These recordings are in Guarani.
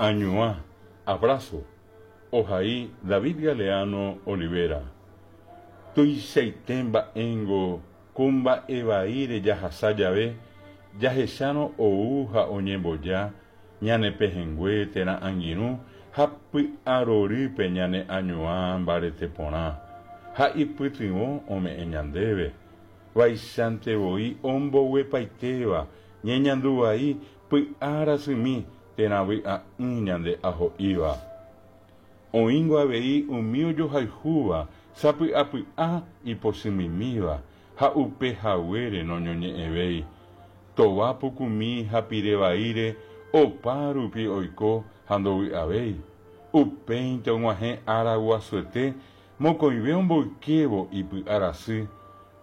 Añuã, abrazo, ohai David Galeano Olivera. Tuichaite mba'éngo ko mba'e vaíre jahasa jave, jahechárõ ou ha oñemboja ñane pehẽngue térã angirũ ha py'arorýpe ñane añuã mbarete porã, ha ipytyvõ ome'ẽ ñandéve. Vaichante voi omboguepaitéva ñeñandu vai py'a rasymi térã vy'a'ỹ ñande aho'íva. Oĩngo avei umi ojohayhúva sapy'apy'a ipochymimíva ha upe haguére noñoñe'ẽvéi. Tova pukumi ha pire vaíre opa rupi oiko ha ndovy'avéi. Upéinte og̃uahẽ ára guasuete mokõive omboykévo ipy'a rasy.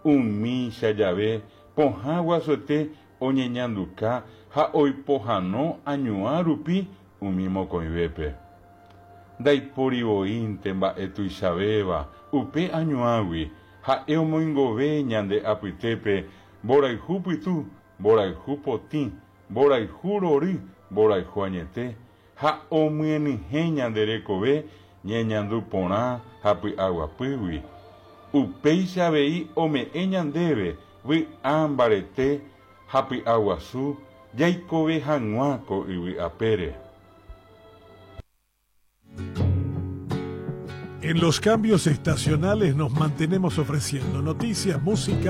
Umícha jave pohã guasuete oñeñanduka ha oipohano añuã rupi umi mokõivépe. Ndaipóri voínte mba'e tuichavéva upe añuãgui, ha'e omoingove ñande apytépe mborayhu pytu, mborayhu potĩ, mborayhu rory, mborayhu añete, ha omyenyhẽ ñande rekove ñeñandu porã ha py'aguapýgui. Upéicha avei ome'ẽ ñandéve vy'a mbarete ha py'aguasu jaikove hag̃ua ko yvy apére. En los cambios estacionales nos mantenemos ofreciendo noticias, música.